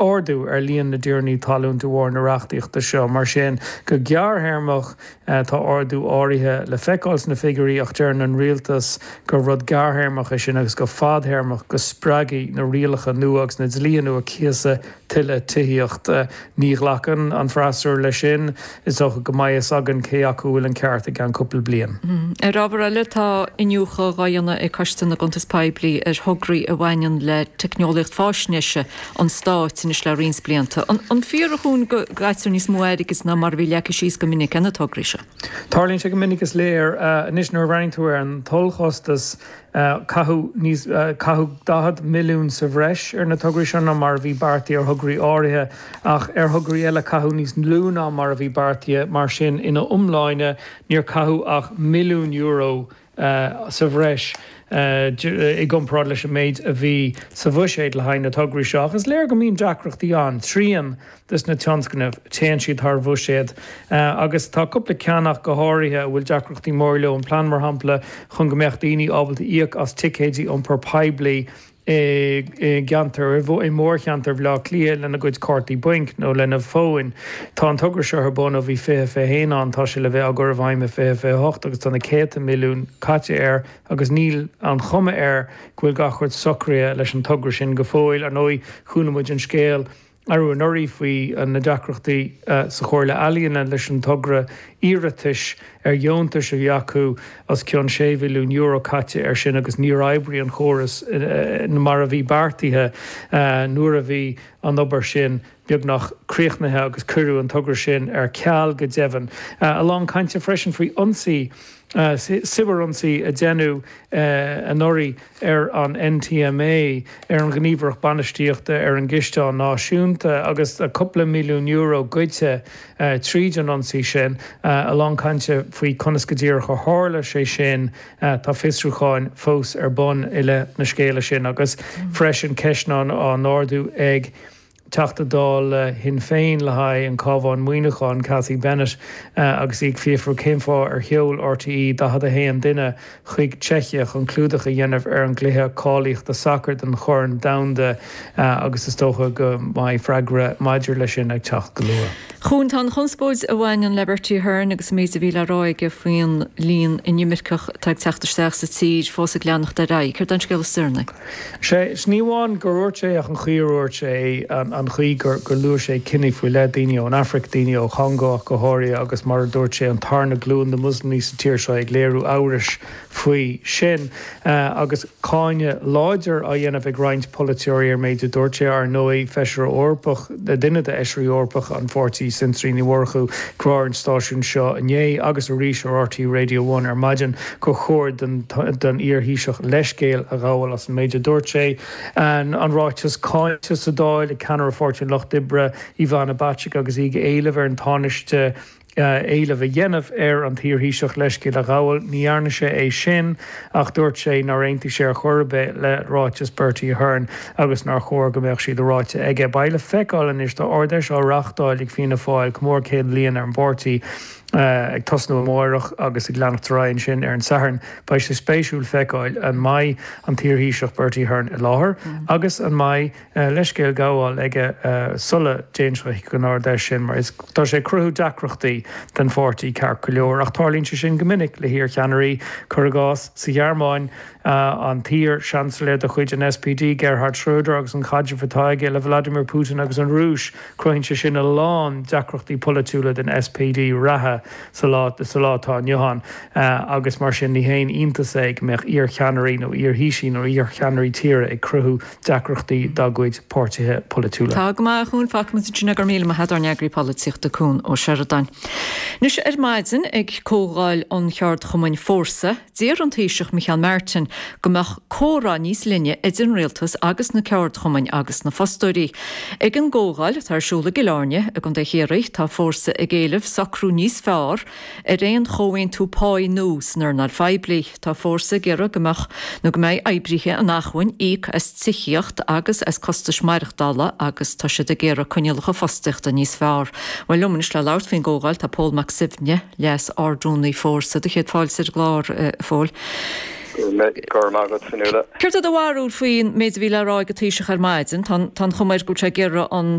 Ardú ar líon na dtiarnaí talún de bharr na reachtaíochta seo. Mar sin, go gearrthéarmach, tá ardú áirithe le feiceáil sna figiúirí ach deireann an rialtas gur rud gearrthéarmach é sin agus go fadthéarmach go spreagfaidh na rialacha nua agus na dlíthe nua cíosa tuilleadh tithíochta. Ní ghlacann an freasúra leis sin. Is dócha go mbeidh fhios againn cé acu a bhfuil an ceart i gceann cúpla bliain. Ar ábhar eile, tá iniúchadh dhá dhéanamh ag Coiste na gCuntas Poiblí ar thograí a bhaineann le teicneolaíocht fáisnéise an Stáit anois le roinnt blianta. An fíor, a Chuain, go gcaitear níos mó airgid ná mar a bhí leagtha síos go minic ar na tograí seo? Tarlaíonn sé go minic is léir. Anois nuair a bhreathnaíonn tú ar an t-ollchostas, caitheadh níos, caitheadh 40 milliún sa bhreis ar na tograí seo ná mar a bhí beartaithe ar thograí áirithe, ach ar thograí eile caitheadh níos lú ná mar a bhí beartaithe. Mar sin, ina iomláine, níor caitheadh ach milliún euro sa bhreis i gcomparáid leis an méid a bhí sa bhuiséad le haghaidh na tograí seo. Ach is léir go mbíonn deacrachtaí ann. Trian des na tionscnaimh, téann siad thar bhuiséad agus tá cúpla ceann ach go háirithe a bhfuil deacrachtaí móra leo, an plean mar shampla chun go mbeadh daoine ábalta íoc as ticéidí iompar poiblí i gceantar, i mórcheantar Bhaile Átha Cliath lena gcuid cártaí bainc nó lena bhfóin. Tá an togra seo ar bun ó bhí 2021 ann, tá sé le bheith á gcur i bhfeidhm i 2028 agus tá na céadta milliún caite air agus níl an chuma air go bhfuil gach rud socraithe leis an togra sin go fóill. Ar ndóigh, chuala muid an scéal arú anuraidh faoi na deacrachtaí sa Chomhairle Ealaíon leis an togra iarratais ar dheontais a bhí acu, os cionn €6 mhilliún caite air sin agus níor oibrigh an chóras mar a bhí beartaithe nuair a bhí an obair sin beagnach críochnaithe agus cuireadh an togra sin ar ceal go deimhin. A lán cainte freisin faoi ionsaí, cibearionsaí a deineadh anuraidh ar an NTMA, ar an Ghníomhaireacht Bainistíochta ar an gCisteán Náisiúnta agus cúpla milliún euro goidte tríd an ionsaí sin. A lán cainte faoi conas go díreach a tharla sé sin. Tá fiosrúcháin fós ar bun i leith na scéala sin agus freisin ceisteanna á n-ardú ag Teachta Dála Shinn Féin le haghaidh an Cabhán-Muineachán, Cathy Bennett, agus í ag fiafrú cén fáth ar sheol RTÉ 41 duine chuig Czechia chun clúdach a dhéanamh ar an gcluiche cáilíochta sacair don Chorn Domhanda agus is dócha go mbeidh freagra maidir leis sin ag teacht go luath. Chuain, tá an chonspóid a bhaineann le Bertie Ahern agus an méid a bhí le rá aige faoin líon inimirceach atá ag teacht isteach sa tír fós ag leanacht ar aghaidh. Céard é an scéal is deireanaí? Sea, ní amháin gur dhúirt sé ach an chaoi ar dhúirt sé é, an chaoi gur luaigh sé cine faoi leith, daoine ón Afraic, daoine ó Chongó ach go háirithe, agus mar a dúirt sé, an tarna glúin de Mhoslamaigh sa tír seo ag léiriú amhrais faoi sin. Agus cáineadh láidir á dhéanamh ag roinnt polaiteoirí ar an méid a dúirt sé. Ar ndóigh, Feisire Eorpach, duine d'fheisirí Eorpacha an pháirtí, Sinéad Ní Mhurchú, ag rá ar an stáisiún seo inné agus arís ar RTÉ Radio One ar maidin gur chóir don iar-Thaoiseach leithscéal a ghabháil as an méid a dúirt sé. An ráiteas cáinte sa Dáil ag ceannaire Pháirtí an Lucht Oibre, Ivana Bacik agus í ag éileamh ar an Tánaiste éileamh a dhéanamh ar an t-iar-Thaoiseach leithscéal a ghabháil. Ní dhearna sé é sin ach dúirt sé nár aontaigh sé ar chor ar bith le ráiteas Bertie Ahern agus nár chóir go mbeadh siad ráite aige. Beidh le feiceáil anois, tá Ard-Fheis á reáchtáil ag Fianna Fáil, comóradh 100 bliain ar an bpáirtí, ag tosnú amáireach agus ag leanacht ar aghaidh ansin ar an Satharn. Beidh sé spéisiúil feiceáil an mbeidh an t-iar-Thaoiseach Bertie Ahern i láthair agus an mbeidh leithscéal gabháil aige sula dtéann sé chuig an Ard-Fheis sin mar is tá sé ag cruthú deacrachtaí don pháirtí ceart go leor. Ach tarlaíonn sé sin go minic le hiar-cheannairí, cuir i gcás, sa Ghearmáin, an t-iar-Seansailéir de chuid an SPD, Gerhard Schröder agus an caidreamh atá aige le Vladimir Putin agus an Rúis, cruthaíonn sé sin a lán deacrachtaí polaitiúla don SPD reatha sa lá sa lá atá inniu ann agus mar sin ní haon iontas é go mbeadh iar-cheannairí nó iar-thaoisigh nó iar-cheannairí tíre ag cruthú deacrachtaí dá gcuid páirtithe polaitiúla. Tá go maith, a Chuain, fágfaimid ansin é, go raibh míle maith agat, ár n-eagraí polaitíochta Cuan Ó Seireadáin. Anois ar maidin ag comhdháil an cheardchumainn Fórsa, d'iarr an Taoiseach Micheál Martin go mbeadh comhrá níos linne idir an rialtas agus na ceardchumainn agus na fostóirí. Ag an gcomhdháil atá ar siúl i gCill Airne i gContae Chiarraí, tá Fórsa ag éileamh socrú níos fearr ar aon chomhaontú páí nua san earnáil phoiblí. Tá Fórsa ag iarraidh go mbeadh nó go mbeidh oibrithe in acmhainn íoc as tithíocht agus as costais maireachtála agus tá siad ag iarraidh coinníollacha fostaíochta níos fearr. Bhuel, liom anois le labhairt faoin gcomhdháil tá Pól Mac Suibhne, Leas-Ardrúnaí Fórsa. Do chéad fáilte ar an gclár, a Phóil. Go raibh maith agat, Fionnuala. Céard é do bharúil faoin méid a bhí le rá ag an Taoiseach ar maidin? Tá an chuma air go bhfuil sé ag iarraidh an.